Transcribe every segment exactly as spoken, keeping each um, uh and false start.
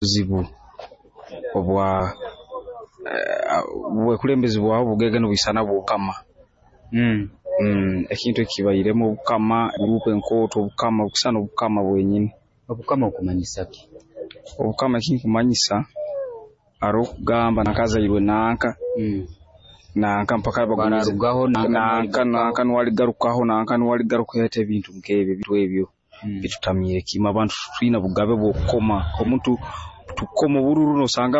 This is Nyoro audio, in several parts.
Buzibu obwa aaa obwekulembezi bwawe bugenda nibwisana bw'obukama Mm. mmh ekintu eki kibairemu obukama guruupu enkooto obukama bukusana obukama bwenyini. Obukama okumanyisa ki? Obukama ekinkumanyisa haroho okugamba nanka azairwe nanka Mm. nanka mpaka bagumize Bararugaho nanka nanka nuwe aligarukaho nanka nuwe aligarukaho ati ebintu nk'ebyo ebintu ebyo Mm. bitutamiire kimwe abantu titwina bugabe bw'okukoma omuntu tukukoma obururu noosanga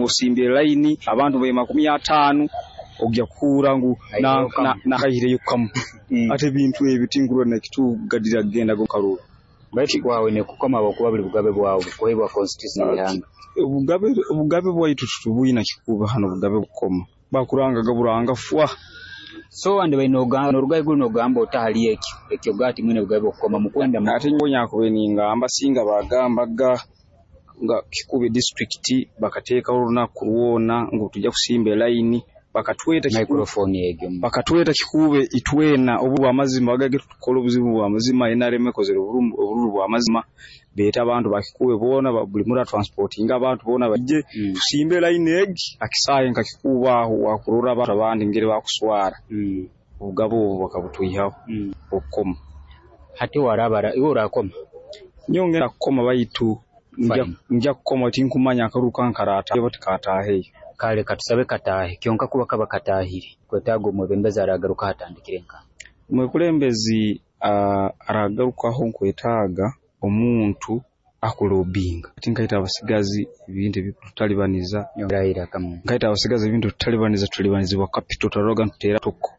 osimbire layini abantu bali makumi ataano ogya kuhuura ngu Aihireho nanka kamu. nanka aihireyo kamu Mm. ati ebintu ebi tinkurora nekitugadira kugenda omu karuru. Baitu kwawe kukoma habwokuba buli bugabe bwawe bukuhaibwa constitution y'ihanga. Obugabe obugabe bwaitu titubwina Kikuube hanu obugabe bw'okukoma bakurangaga buranga fwa. So wandibaire noga noruga haiguru nogamba ota hali ekyo ekyokugamba timwine bugabe bwakukoma mukwenda Ati nyowe nakubaire ningamba singa baagambaga nga Kikuube disitulikiti bakateekaho orunaku rwona ngu tujja kusimba e layini bakatweta microphone egyo bakatweta Kikuube itwena obu bw'amazima bagambege tukole obuzibu bwa mazima N R M ekozere obururu bwa mazima beete abantu ba Kikuube boona buli muntu atransportinge abantu boona baije Mm. tusimbe e layini egi ha kisaayi nka Kikuube aho wakurora abantu abandi engeri bakuswara. Mm. Obugabe obu bakabutwihaho Mm. obukoma. Hati waraba iwe orakoma? Nyowe ngenda kukoma baitu ngya Fine. ngya kukoma tinkumanya akaruru kange karaataha oba tikataaheyo. Kale katusabe kataahe kyonka kuba kaba kataahire okwetaaga omwebembezi aragarukaho atandikire nkaha? Omwekulembezi aa aragarukaho nkwetaaga omuntu akulobinga ati nkaitwe abasigazi ebintu ebikututalibaniza Yongerayo iraka muno. nkaitwe abasigazi ebintu ebikututalibaniza tutalibanizibwa capital twaroraga ntuteera toko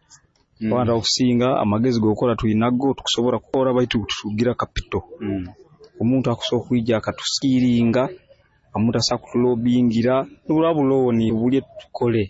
Mm. abantu abakusinga amagezi g'okukora twinago tukusobora kukora baitu titukugira capital. Mm. Omuntu akusobola okwija akatusikiringa omuntu asobola okutulobingira niburaba bu loan tubulye tukole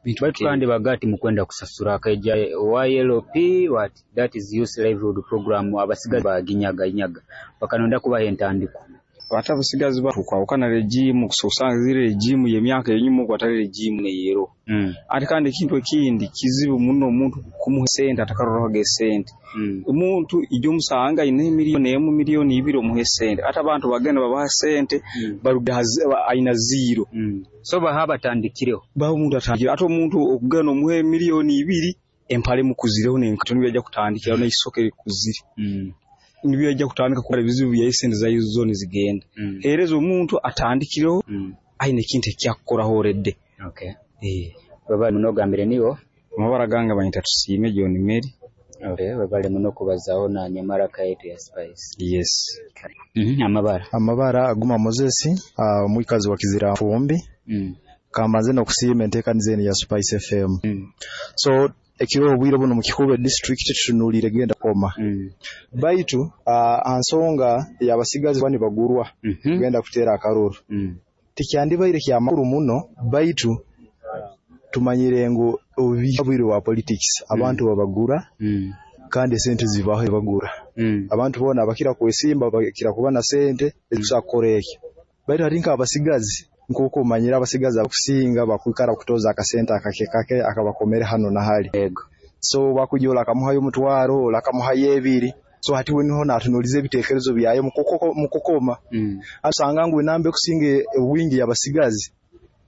bintu Baitu nk'ebyo. kandi baga timukwenda kusasura akaija Y L P what that is youth livelihood program abasigazi baginyaganyaga bakanonda kubaha entandikwa. Ate abasigazi tukwahukana regime okusanga ziri regime y'emyaka y'enyuma oku atali regime n'eyeroho Mm. ate kandi ekintu ekindi kizibu muno omuntu kumuha esente atakarorahoga esente. Mm. Omuntu ijo omusanga ayina e million emu million ibiri omuhe esente ati abantu bagenda nibabaha esente Mm. baruga ayina zero. Mm. So baha abatandikireho. Baha omuntu atandikire ate omuntu okugenda nomuha e million ibiri empale emukuzireho n'enkaito nibyo ajja kutandikiraho n'eisoke likuzire Mm. nibyo ajja kutandika kukora ebizibu byaye esente zaye zo nizigenda. Mm. Hereza omuntu atandikireho Mm. ayina ekintu ekyakukoraho already. Okay. Eeh. Webale muno ogambire niiwe? Amabara gange banyeta Tusiime John Mary. Okay, webale muno kubazaho na Nyamaraka yaitu ya Spice. Yes. Mm amabara. Amabara Aguma Moses uh, omwikazi wa Kiziranfumbi. Mm. Kambanze n'okusiima enteekaniza enu ya Spice F M. Mm. So ekiro obwire buno mu Kikuube district tutunuulire genda kukoma Mm. baitu uh, ansonga y'abasigazi kuba nibagurwa Mm -hmm. kugenda kuteera akaruru Mm. tikyandibaire kyamakuru muno baitu tumanyire ngu obu bwire bwa politics abantu babagura Mm. kandi esente zibaho bagura Mm. abantu boona abakira kwesimba bakira kuba na sente ezikusobola kukora ekyo baitu hati nk'abasigazi nk'oku omanyire abasigazi abakusinga bakwikara kutoza akasente akake kake akabakomere hano na hali. Ego. So bakujja ole akamuhayo omutwaro ole akamuhayo ebiri so hati we niho natunuliza ebiteekerezo byaye mu kukoma Mm. asanga ngu enamba ekusinga obwingi y'abasigazi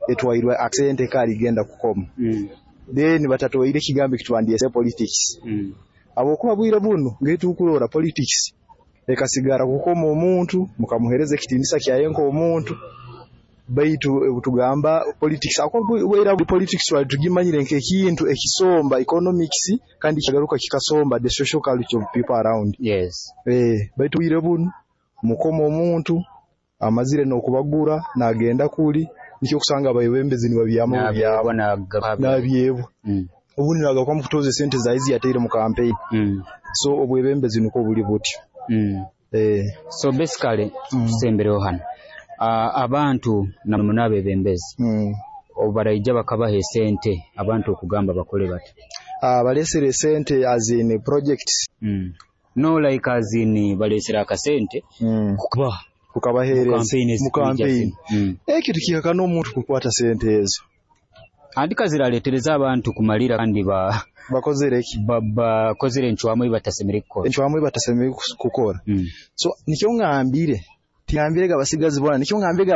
etwairwe akasente kaligenda kukoma Mm. then batatwaire ekigambo ekitwandyese politics Mm. habwokuba bwire bunu ngetukurora politics ekasigara kukoma omuntu mukamuheereza ekitiinisa kyaye nk'omuntu baitu obutugamba politics bwaira politics twali tugimanyire nk'ekintu ekisomba economics kandi kyagaruka kikasomba the social culture of people around. Yes. Eh, baitu bwire bunu mukoma omuntu amazire n'okubagura nagenda kuli nikyo okusanga abayebembezi nibabyama bubyama Nabyebwa nabyebwa Mm. obundi nagaruka mukutoza esente zaye ziyateire mu campaign. Mm. So obwebembezi nukwo buli butyo. Mm. Eh. So basically Mm. tusembereho hano uh, abantu namuno abebembezi Mm. obaraija bakabaha esente abantu okugamba bakole bati Uh, balesere esente as in projects. mm. No, like as in balesere akasente mm. kuba kukabaheereza campaign mu ezikwija campaign. zino. Mm. Ekyo tikihakana omuntu kukwata sente ezo. Andika ziraletereza abantu kumalira kandi ba bakozere ki ba- bakozere encwamu ei batasemere kukora. Encwamu ei batasemere kukora. Mm. So nikyo ngambire tingambire abasigazi bona nikyo ngambire.